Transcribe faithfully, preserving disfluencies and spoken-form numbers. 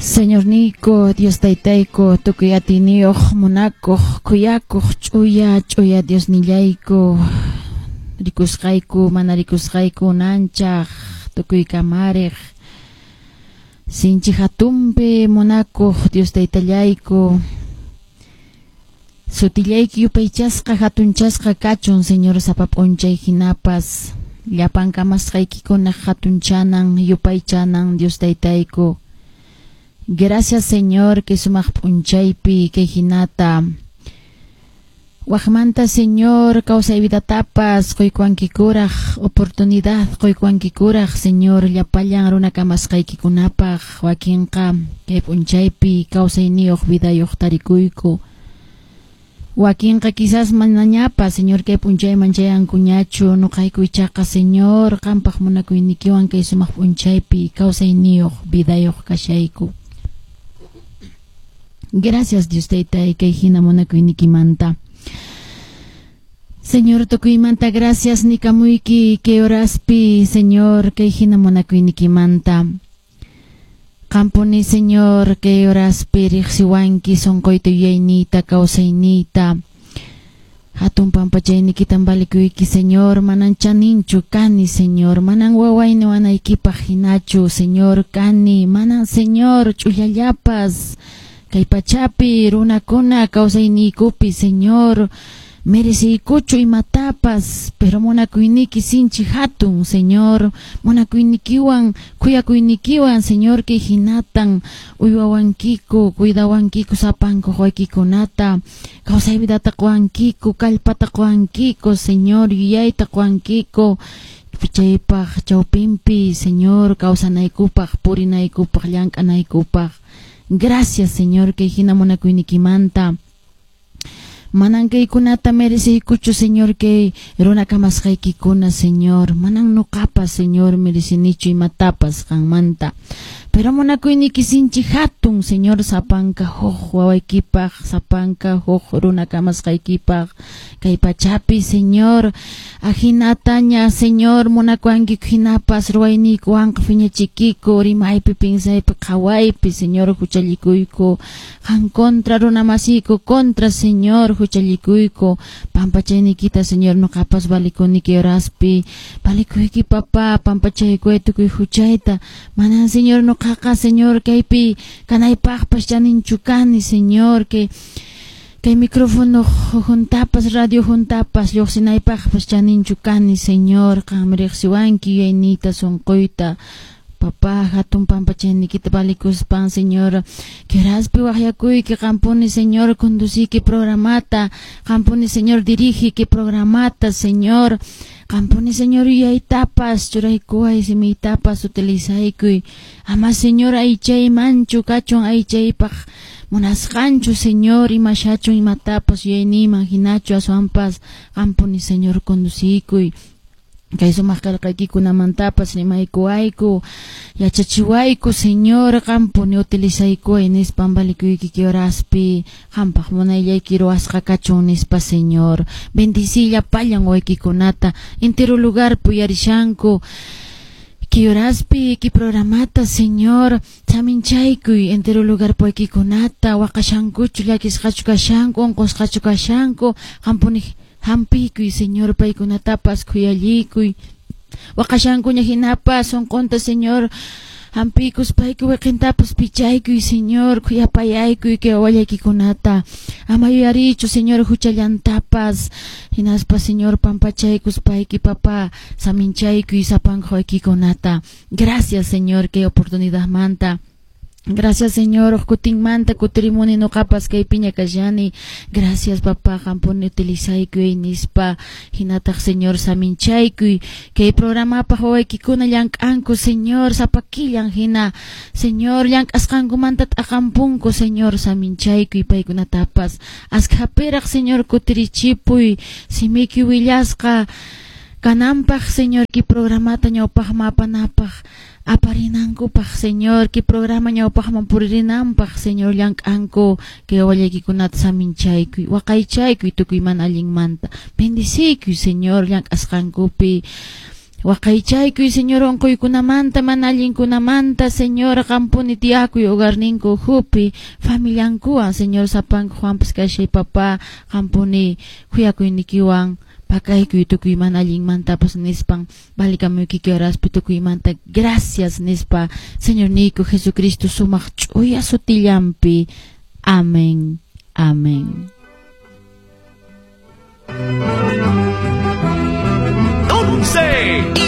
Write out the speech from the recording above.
Señorniyku, Dios taytayku, tukuy atiyniyuq, munakuq, khuyakuq, ch'uya, ch'uya Diosnillayku, rikusqayku, mana rikusqayku, unanchaq, tukuy kamariq, sinchi hatunpi munakuq Dios taytallayku, sutillayki yupaychasqa, hatunchasqa kachun, Señor, sapa p'unchay hinapas, llapan kamasqaykikunaq hatunchanan, yupaychanan, Dios taytayku. Gracias, Señor, que sumaq p'unchaypi kay hinata waqmanta, Señor, kawsay vidatapas quykuwankikuraq, oportunidad quykuwankikuraq, Señor, llapallan runa kamasqaykikunapaq wakinqa kay p'unchaypi kawsayniyuq vidayuq tarikuyku. Wakinqa quizás manañapas, Señor, kay p'unchayman chayankuñachu, nuqayku ichaqa, Señor, qampaq munakuynikiwan kay sumaq p'unchaypi kawsayniyuq vidayuq kashayku. Gracias, Dios taytay, kay hina munakuynikimanta. Señor, tukuymanta gracias nikamuyki kay horaspi, Señor, kay hina munakuynikimanta. Qampuni, Señor, kay horaspi riqsiwanki sunquyta yuyayniyta kawsayniyta. Hatun pampachaynikitan valikuyki, Señor, manan chaninchu kani, Señor, manan wawayni wanaykipaq hinachu, Señor, kani, manan, Señor, ch'ullallapas. Kay pachapi runakuna kawsayniykupi, Señor, mereciykuchu imatapas, pero munakuyniki sinchi hatun, Señor, munakuynikiwan, khuyakuynikiwan, Señor, kay hinatan uywawankiku, cuidawankiku sapanku waykikunata, kawsay vidata quwankiku, kallpata quwankiku, Señor, yuyayta quwankiku, chaypaq chawpinpi, Señor, kawsanaykupaq, purinaykupaq, llank'anaykupaq. Gracias, Señor, kay hina munakuynikimanta. Manan kaykunata mereciykuchu, Señor, kay runa kamasqaykikuna, Señor. Manan nuqapas, Señor, merecinichu imatapas qanmanta. Pero munakuyniki sinchi hatun, Señor, sapanka huk wawaykipaq, sapanka huk runa kamasqaykipaq. Kay pachapi, Señor, ahinataña, Señor, munakuwankiku hinapas ruwayniykuwanqa phiñachikiku, rimaypi, pinsaypi, qhawaypi, Señor, huchallikuyku. Qan contra runa masiyku contra, Señor, huchallikuyku. Pampachaynikita, Señor, nuqapas valikuniki horaspi. Valikuyki, papá, pampachaykuway tukuy huchayta. Manan, Señor, nuqaqa, Señor, kaypi kanaypaqpas chaninchu kani, Señor, que kay micrófono juntapas, radio juntapas, lluqsinaypaqpas chaninchu kani, Señor, qam riqsiwanki yuyayniyta, sunquyta. Papá, hatun pampachaynikita valikuspan, Señor, queraspi waqyakuyki qampuni, Señor, conduciki programata, qampuni, Señor, dirigiki programata, Señor, qampuni, Señor, yuyaytapas, churaykuway, simiytapas utilizaykuy. Ama, Señor, aychaymanchu kachun aychaypaq munasqanchu, Señor, imashachun imatapas yuyayniyman hinachu aswanpas qampuni, Señor, conducikuy. Kay sumaq qillqaykikunamantapas rimaykuwayku, yachachiwayku, Señor, qampuni utilizaykuway nispan valikuyki horaspi, qampaq munayllayki ruwasqa kachun nispa, Señor. Bendicí llapallan waykikunata, entero lugar puyarishanku. Kay horaspi, kay programata, Señor, saminchaykuy entero lugar waykikunata, waqashankuchu, llakisqachu kashanku, unqusqachu kashanku, qampuni hampiykuy, Señor, paykunatapas khuyallikuy. Waqashankuña hinapas sunqunta, Señor, hampiykuspayku wiqintapas pichaykuy, Señor, khuyapayaykuy kay wawallaykikunata. Ama yuyarichu, Señor, huchallantapas. Hinaspa, Señor, pampachaykuspayki, papá, saminchaykuy sapanka waykikunata. Gracias, Señor, kay oportunidadmanta. Gracias, Señor, kutinmanta kutirimuni nuqapas kaypiña kashani. Gracias, papá, qampuni utilizaykuy nispa. Hinataq, Señor, saminchaykuy. Kay programapaq wawaykikuna llank'anku, Señor, sapakillan hina. Señor, llank'asqankumanta t'aqampunku, Señor, saminchaykuy paykunatapas. Askhapiraq, Señor, kutirichipuy. Simiyki willasqa kananpaq, Señor, kay programata ñawpaqman apanapaq. Aparinankupaq, Señor, kay programa ñawpaqman puririnanpaq, Señor, llank'anku kay wawallaykikunata saminchaykuy, waqaychaykuy tukuy mana allinmanta. Bendiciykuy, Señor, llank'asqankupi. Waqaychaykuy, Señor, unquykunamanta, mana allinkunamanta, Señor, qampuni tiyakuy hogarninku ukhupi, familiankuwan, Señor, sapanku Juanpas kashay, papá, qampuni khuyakuynikiwan pakaykuy tukuy mana allinmantapas nispan, valikamuyki horaspi tukuymanta gracias nispa, Señor niyku Jesucristo sumaq ch'uya sutillanpi. Amén. Amén. Once.